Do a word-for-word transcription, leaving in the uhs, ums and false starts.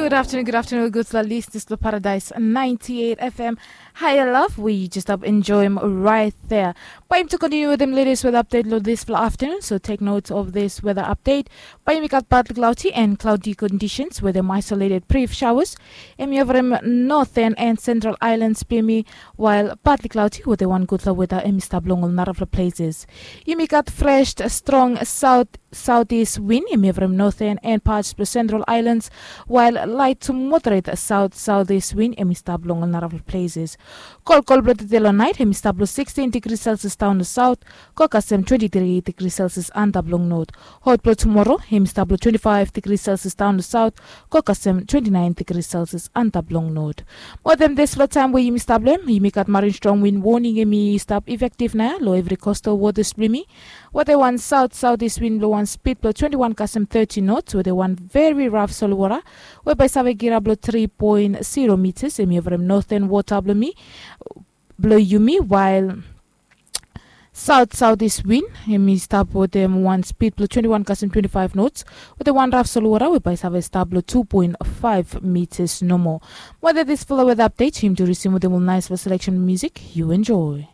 Good afternoon, good afternoon, good listeners to Paradise ninety-eight F M. Higher love, we just up enjoy him right there. Bae yumi tu continue with him latest weather update lo this fla afternoon. So take note of this weather update. Bae yumi gat partly cloudy and cloudy conditions with him isolated brief showers. Em yovrim northern and central islands bimi, while partly cloudy with a one good weather em stap long all narafla places. Yumi gat fresh strong south southeast wind em yovrim northern and parts of central islands, while light to moderate south southeast wind em stap long all narafla places. Kolkol blo tete lo night em stap lo sixteen degrees Celsius down to south, go kasem twenty-three degrees Celsius antap long north. Hot blo tomorrow em stap lo twenty-five degrees Celsius down to south, go kasem twenty-nine degrees Celsius antap long north. Mo dem this fla time we yumi stap lo em, yumi gat marine strong wind warning em i stap effective nao lo every coastal waters blo yumi. Wetem wan south southeast wind blo wan speed blo twenty-one kasem thirty knots wetem wan very rough solwara we bae save girap lo three point zero meters em yovrim northern water blo mi blo yumi, while south southeast wind em i stap wetem wan speed blo twenty-one kasem twenty-five knots wetem wan rough solwara we bae save stap lo two point five meters nomo. Wetem this fla weather update yumi tu resume wetem ol nice fla selection music. You enjoy.